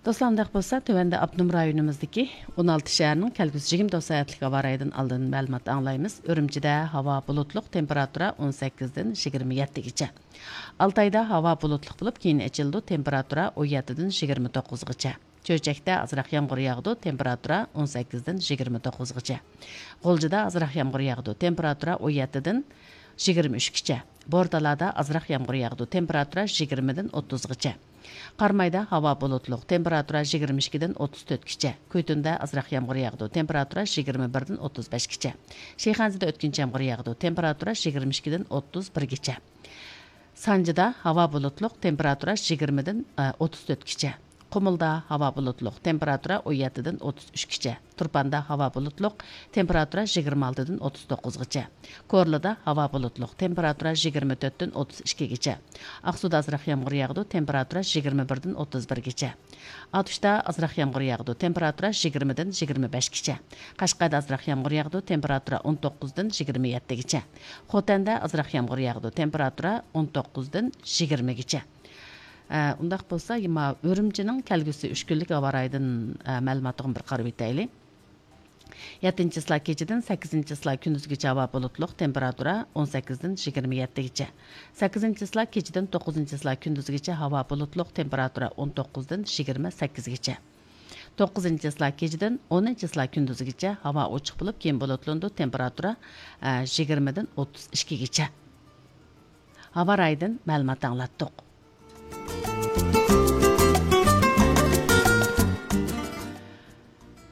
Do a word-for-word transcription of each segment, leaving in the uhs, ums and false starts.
دوستلار، ئۇنداق بولسا، تۆۋەندە ئاپتونوم رايونىمىزدىكى ئون ئالتە شەھەرنىڭ كەلگۈسى يىگىرمە تۆت سائەتلىك ھاۋا رايىدىن ئالدىن مەلۇمات ئاڭلايمىز. ئۈرۈمچىدە ھاۋا بۇلۇتلۇق، تېمپېراتۇرا ئون سەككىزدىن يىگىرمە يەتتىگىچە. ئالتايدا ھاۋا بۇلۇتلۇق بولۇپ، كېيىن ئېچىلىدۇ، تېمپېراتۇرا ئون يەتتىدىن يىگىرمە توققۇزغىچە. چۆچەكتە ئازراق يامغۇر ياغىدۇ، تېمپېراتۇرا ئون سەككىزدىن يىگىرمە توققۇزغىچە. غۇلجىدا ئازراق يامغۇر ياغىدۇ، تېمپېراتۇرا ئون يەتتىدىن يىگىرمە ئۈچكىچە. بورتالادا ئازراق يامغۇر ياغىدۇ، تېمپېراتۇرا يىگىرمىدىن ئوتتۇزغىچە. قارامايدا ھاۋا بۇلۇتلۇق، تېمپېراتۇرا يىگىرمە ئىككىدىن ئوتتۇز تۆتكىچە. كۈيتۇندا ئازراق يامغۇر ياغىدۇ، تېمپېراتۇرا يىگىرمە بىردىن ئوتتۇز بەشكىچە. شىخەنزىدە ئۆتكۈنچى يامغۇر ياغىدۇ، تېمپېراتۇرا يىگىرمە ئىككىدىن ئوتتۇز بىرگىچە. سانجىدا ھاۋا بۇلۇتلۇق، تېمپېراتۇرا يىگىرمىدىن ئوتتۇز تۆتكىچە. قۇمۇلدا ھاۋا بۇلۇتلۇق، تېمپېراتۇرا ئون يەتتىدىن ئوتتۇز ئۈچكىچە. تۇرپاندا ھاۋا بۇلۇتلۇق، تېمپېراتۇرا يىگىرمە ئالتىدىن ئوتتۇز توققۇزغىچە. كورلىدا ھاۋا بۇلۇتلۇق، تېمپېراتۇرا يىگىرمە تۆتتىن ئوتتۇز ئىككىگىچە. ئاقسۇدا ئازراق يامغۇر ياغىدۇ، تېمپېراتۇرا يىگىرمە بىردىن ئوتتۇز بىرگىچە. ئاتۇشتا ئازراق يامغۇر ياغىدۇ، تېمپېراتۇرا يىگىرمىدىن يىگىرمە بەشكىچە. قەشقەردە ئازراق يامغۇر ياغىدۇ، تېمپېراتۇرا ئون توققۇزدىن يىگىرمە يەتتىگىچە. خوتەندە ئازراق يامغۇر ياغىدۇ، تېمپېراتۇرا ئون توققۇزدىن يىگىرمىگىچە. ئە، ئۇنداق بولسا، يەنە ئۈرۈمچىنىڭ كەلگۈسى ئۈچ كۈنلۈك ھاۋا رايىدىن، ئە، مەلۇماتىغا بىر قارىۋېتەيلى. يەتتىنچى چىسلا كېچىدىن سەككىزىنچى چىسلا كۈندۈزگىچە ھاۋا بۇلۇتلۇق، تېمپېراتۇرا ئون سەككىزدىن يىگىرمە يەتتىگىچە. سەككىزىنچى چىسلا كېچىدىن توققۇزىنچى چىسلا كۈندۈزگىچە ھاۋا بۇلۇتلۇق، تېمپېراتۇرا ئون توققۇزدىن يىگىرمە سەككىزگىچە. توققۇزىنچى چىسلا كېچىدىن ئونىنچى چىسلا كۈندۈزگىچە ھاۋا ئوچۇق بولۇپ، كېيىن بۇلۇتلىنىدۇ، تېمپېراتۇرا، ئە، يىگىرمىدىن ئوتتۇز ئىككىگىچە. ھاۋا رايىدىن مەلۇمات ئاڭلاتتۇق.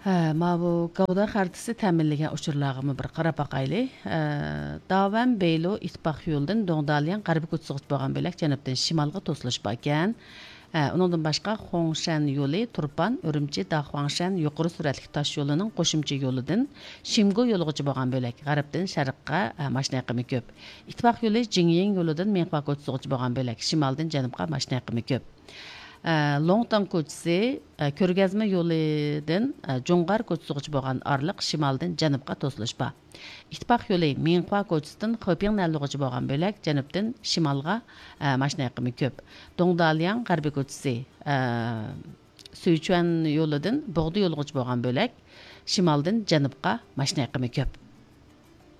ھە، ماۋۇ گەۋدە خەرىتىسى تەمىنلىگەن ئۇچۇرلارغىمۇ بىر قاراپ باقايلى. ھە، داۋەن بېيلۇ ئىتتىپاق يولىدىن دۇڭدالياڭ غەربىي كوچىسىغىچە بولغان بۆلەك جەنۇبتىن شىمالغا توسۇلۇش باركەن. ھە، ئۇنىڭدىن باشقا خۇڭشەن يولى تۇرپان، ئۈرۈمچى، داخۇاڭشەن يۇقىرى سۈرئەتلىك تاش يولىنىڭ قوشۇمچە يولىدىن شىمگو يولىغىچە بولغان بۆلەك غەربتىن شەرققە، ھە، ماشىنا ئېقىمى كۆپ. ئىتتىپاق يولى جىڭيىڭ يولىدىن مىڭخۇا كوچىسىغىچە بولغان بۆلەك شىمالدىن جەنۇبقا ماشىنا ئېقىمى كۆپ. ئە، لوڭتاڭ كوچىسى، ئە، كۆرگەزمە يولىدىن، ئە، جۇڭغار كوچىسىغىچە بولغان ئارىلىق شىمالدىن جەنۇبقا توسۇلۇش بار. ئىتتىپاق يولى مىڭخۇا كوچىسىدىن خېپىڭ نەنلۇغىچە بولغان بۆلەك جەنۇبتىن شىمالغا، ئە، ماشىنا ئېقىمى كۆپ. دۇڭدالياڭ غەربىي كوچىسى، ئە، سۈيچۈەن يولىدىن بوغدا يولىغىچە بولغان بۆلەك شىمالدىن جەنۇبقا ماشىنا ئېقىمى كۆپ.